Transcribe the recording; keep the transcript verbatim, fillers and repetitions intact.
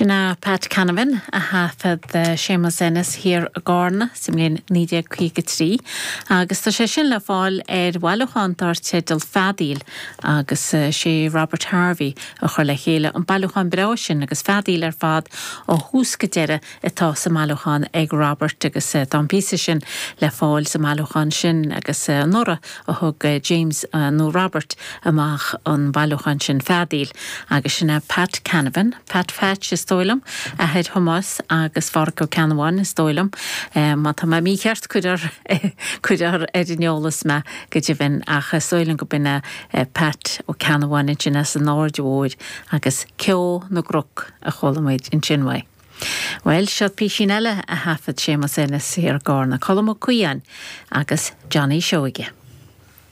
Sin é Pat Canavan a thaifead Séamus Ennis thiar i gCarna sa mbliain naoi déag caoga trí agus tá sé sin le fáil ar bhailiúchán dar teideal Feadaíl agus sé Robert Harvey a chuir le chéile an bailiúchán breá sin agus feadaíl ar fad ó thús go deireadh atá sa mbailiúchán ag Robert agus tá an píosa sin le fáil sa mbailiúchán sin agus anuraidh a thug James nó Robert amach an bailiúchán sin Feadaíl agus sin é Pat Canavan, Pat Phatch is dóigh liom, athair Thomáis agus Phádraic Ó Ceannabháin is dóigh liom. Má tá mé mícheart cuir cuir ar an eolas mé go deimhin ach is dóigh liom go b'in é Pat Ó Ceannabháin ansin as an Aird Mhóir agus Ceo na gCnoc a chuala muid ansin uaidh. Bhuel, seo písín eile a thaifead Séamus Ennis thiar i gCarna, Colm Ó Caodháin agus Johnny Seoige.